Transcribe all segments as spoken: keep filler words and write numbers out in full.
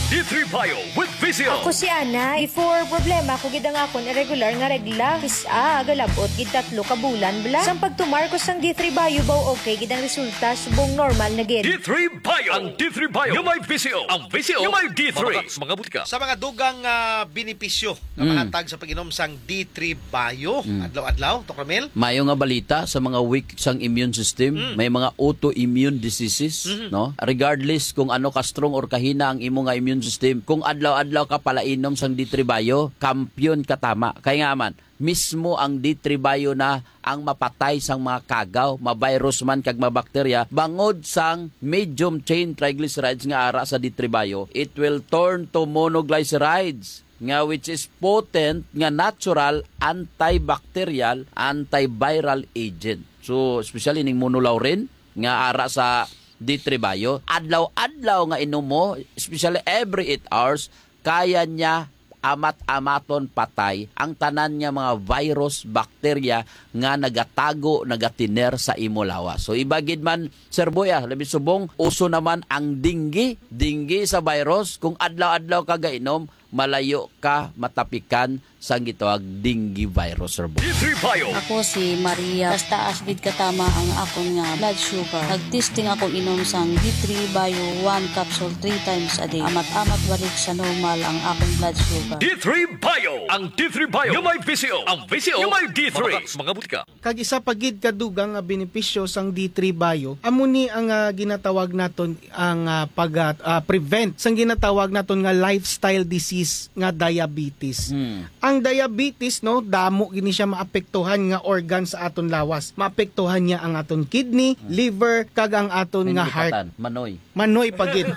D three Bio with Visio. Ako si Ana. Before, problema ko gid ang akon irregular nga regla. Kis-a, galabot gid tatlo ka bulan bala. Sang pagtumar ko sang D three Bio, baw okay gid ang resulta, subong normal na gid. D three Bio. Ang D three Bio nga may Visio. Ang Visio nga may D three. Mga, mga butika. Sa mga dugang, ah, benepisyo nga Mm. mahatag sa pag-inom sang D three Bio Mm. adlaw-adlaw, Tok Ramil? Mayo nga balita sa mga weak sang immune system, Mm. may mga autoimmune diseases, Mhm. no? Regardless kung ano ka strong or kahina ang imo nga immune system, kung adlaw-adlaw ka palainom sang D three Bio, kampiyon ka tama. Kay nga man, mismo ang D three Bio na ang mapatay sang mga kagaw, ma-virus man kag mabakterya, bangod sang medium chain triglycerides nga ara sa D three Bio, it will turn to monoglycerides, nga which is potent nga natural antibacterial, antiviral agent. So, especially ning monolaurin nga ara sa D three Bio, adlaw-adlaw nga inom mo, especially every eight hours, kaya niya amat-amaton patay ang tanan nga mga virus, bakterya nga nagatago, nagatiner sa imo lawas. So, iba gid man, Sir Boy, ah, labi subong, uso naman ang dengue. Dengue sa virus, kung adlaw-adlaw ka gainom, malayo ka matapikan sang gitawag dengue virus, Sir Boy. D three Bio. Ako si Maria. Taas-taas gid katama ang akon nga blood sugar. Nag-testing ako inom sang D three Bio, one capsule three times a day. Amat-amat balik sa normal ang akon blood sugar. D three Bio. Ang D three Bio nga may Visio. Ang Visio nga may D three. Mga, mga butika. Kag isa pa gid ka dugang nga benepisyo sang D three Bio, amo ni ang, ah, ginatawag naton ang, ah, pag, ah, ah, prevent sang ginatawag naton nga lifestyle disease nga diabetes. Hmm. Ang diabetes, no, damo gini siya maapektuhan nga organ sa aton lawas. Maapektuhan niya ang aton kidney, Hmm. liver, kag ang aton May nga heart. Nilipatan, manoy. Manoy pa gid.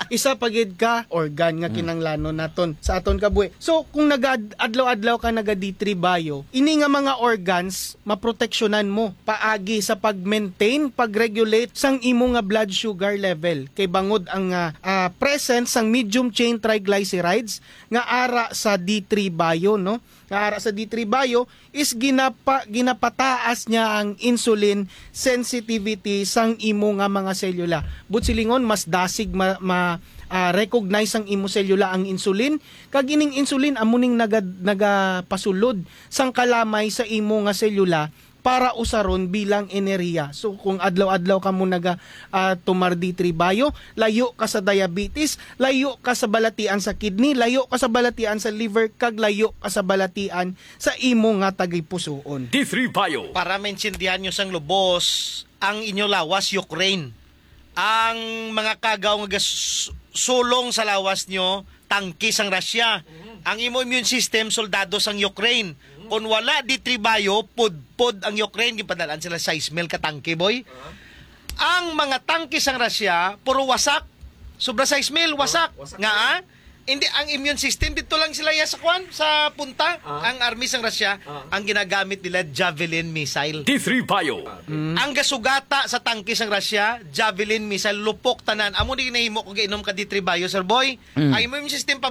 Isa pa gid ka organ nga Hmm. kinanglanon naton sa aton kabuhi. So, kung nagad-, adlaw-adlaw ka naga D three Bio, ini nga mga organs maproteksyonan mo paagi sa pag-maintain, pag-regulate sang imo nga blood sugar level. Kay bangod ang, ah, ah, presence sang medium chain triglycerides nga ara sa D three Bio, no? Nga ara sa D three Bio is ginapa-, ginapataas niya ang insulin sensitivity sang imo nga mga selula. Buot silingon, mas dasig ma-, ma-, ah, recognize sang imo selula ang insulin, kag ining insulin amo ning naga-, nagapasulod sang kalamay sa imo nga selula para usaron bilang enerhiya. So, kung adlaw-adlaw ka mo naga, ah, tomar D three Bio, layo ka sa diabetes, layo ka sa balatian sa kidney, layo ka sa balatian sa liver, kag layo ka sa balatian sa imo nga tagipusoon. D three Bio. Para maintindihan nyo sang lubos, ang inyo lawas, Ukraine. Ang mga kagaw nga gas-, sulong sa lawas nyo, tangke sang Russia. Mhm. Ang imo immune system, soldado sang Ukraine. Mhm. Kung wala D three Bio, pudpod ang Ukraine. Gipadalaan sila sais mil ka tangke, boy. Aha. Ang mga tangke sang Russia, puro wasak. Sobra sais mil, wasak. Wasak. Nga, ah? Hindi, ang immune system, dito lang sila ya sa kwan, sa punta. Ah. Ang army sang Russia, Ah. ang ginagamit nila, Javelin missile. D three Bio. Ah. Mm. Ang gasugata sa tangke sang Russia, Javelin missile, lupok tanan. Amo ni nahimo kung gainom ka D three Bio, Sir Boy. Mm. Ang immune system pa